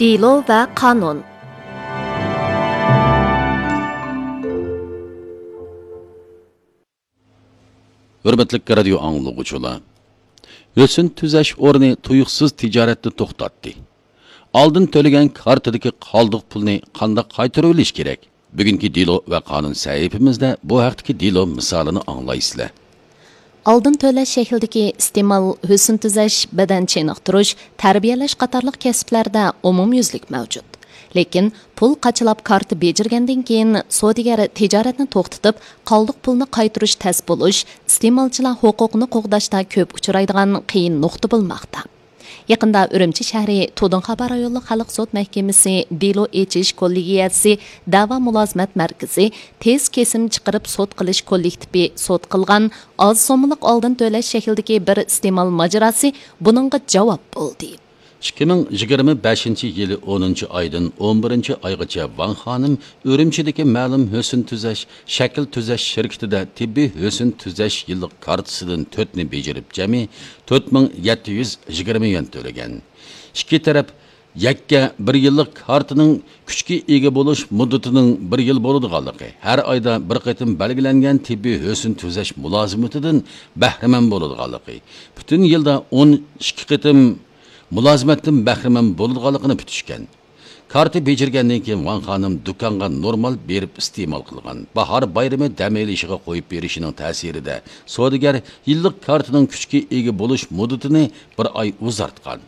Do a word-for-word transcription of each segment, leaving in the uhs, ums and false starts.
دېلو ۋە قانۇن. ھۆرمەتلىك رادىيو ئاڭلىغۇچىلار، ھۆسن تۈزەش ئورنى تۇيۇقسىز تىجارەتنى توختاتتى. ئالدىن تۆلىگەن كارتىدىكى قالدۇق پۇلنى قانداق قايتۇرۇۋېلىش كېرەك؟ بۈگۈنكى دېلو ۋە قانۇن سەھىپىمىزدە بۇ ھەقتىكى دېلو مىسالىنى ئاڭلايسىلەر. ئالدىن تۆلەش شەكلىدىكى ئىستېمال، ھۆسن تۈزەش، بەدەن چېنىقتۇرۇش، تەربىيەلەش قاتارلىق كەسىپلەردە ئومۇميۈزلۈك مەۋجۇت. لېكىن پۇل قاچىلاپ كارتا بېجىرگەندىن كېيىن، سودىگەر تىجارەتنى توختىتىپ، قالدۇق پۇلنى قايتۇرۇش تەس بولۇش، ئىستېمالچىلار ھوقۇقىنى قوغداشتا كۆپ ئۇچرايدىغان قىيىن نۇقتا بولماقتا. يېقىندا ئۈرۈمچى شەھىرى تۇدۇڭخابا رايونلۇق خەلق سوت مەھكىمىسى دېلو ئېچىش كوللېگىيەسى دەۋا مۇلازىمەت مەركىزى تېز كېسىم چىقىرىپ سوت قىلىش كوللېكتىپى سوت قىلغان ئاز سوممىلىق ئالدىن تۆلەش شەكلىدىكى بىر ئىستېمال ماجىراسى بۇنىڭغا جاۋاب بولدى. ئىككى مىڭ يىگىرمە بەشىنچى يىلى ئونىنچى ئايدىن ئون بىرىنچى ئايغىچە ۋاڭ خانىم ئۈرۈمچىدىكى مەلۇم ھۆسن تۈزەش، شەكىل تۈزەش شىركىتىدە تېببىي ھۆسن تۈزەش يىللىق كارتىسىدىن تۆتنى بېجىرىپ، جەمئىي تۆت مىڭ يەتتە يۈز يىگىرمە يۈەن تۆلىگەن. ئىككى تەرەپ يەككە بىر يىللىق كارتىنىڭ كۈچكە ئىگە بولۇش مۇددىتىنىڭ بىر يىل بولىدىغانلىقى، ھەر ئايدا بىر قېتىم بەلگىلەنگەن تېببىي ھۆسن تۈزەش مۇلازىمىتىدىن بەھرىمەن بولىدىغانلىقى، پۈتۈن يىلدا ئون ئىككى قېتىم مۇلازىمەتتىن بەھرىمەن بولىدىغانلىقىنى پۈتۈشكەن. كارتا بېجىرگەندىن كېيىن ۋاڭ خانىم دۇكانغا نورمال بېرىپ ئىستېمال قىلغان. باھار بايرىمى دەم ئېلىشىغا قويۇپ بېرىشىنىڭ تەسىرىدە سودىگەر يىللىق كارتىنىڭ كۈچكە ئىگە بولۇش مۇددىتىنى بىر ئاي ئۇزارتقان.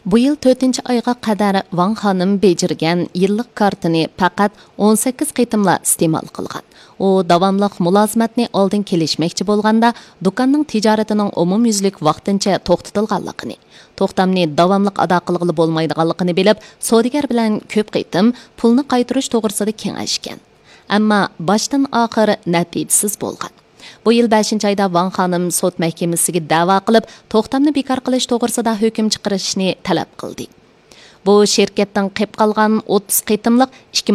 بۇ يىل تۆتىنچى ئايغا قەدەر ۋاڭ خانىم بېجىرگەن يىللىق كارتىنى پەقەت ئون سەككىز قېتىملا ئىستېمال قىلغان. ئۇ داۋاملىق مۇلازىمەتنى ئالدىن كېلىشمەكچى بولغاندا، دۇكاننىڭ تىجارىتىنىڭ ئومۇميۈزلۈك ۋاقتىنچە توختىتىلغانلىقىنى، توختامنى داۋاملىق ئادا قىلغىلى بولمايدىغانلىقىنى بىلىپ، سودىگەر بىلەن كۆپ قېتىم پۇلنى قايتۇرۇش توغرىسىدا كېڭەشكەن. ئەمما باشتىن ئاخىر نەتىجىسىز بولغان. بۇ يىل بەشىنچى ئايدا ۋاڭ خانىم سوت مەھكىمىسىگە دەۋا قىلىپ، توختامنى بىكار قىلىش توغرىسىدا ھۆكۈم چىقىرىشنى تەلەپ قىلدى. بۇ شىركەتتىن قېلىپ قالغان ئوتتۇز قېتىملىق ئىككى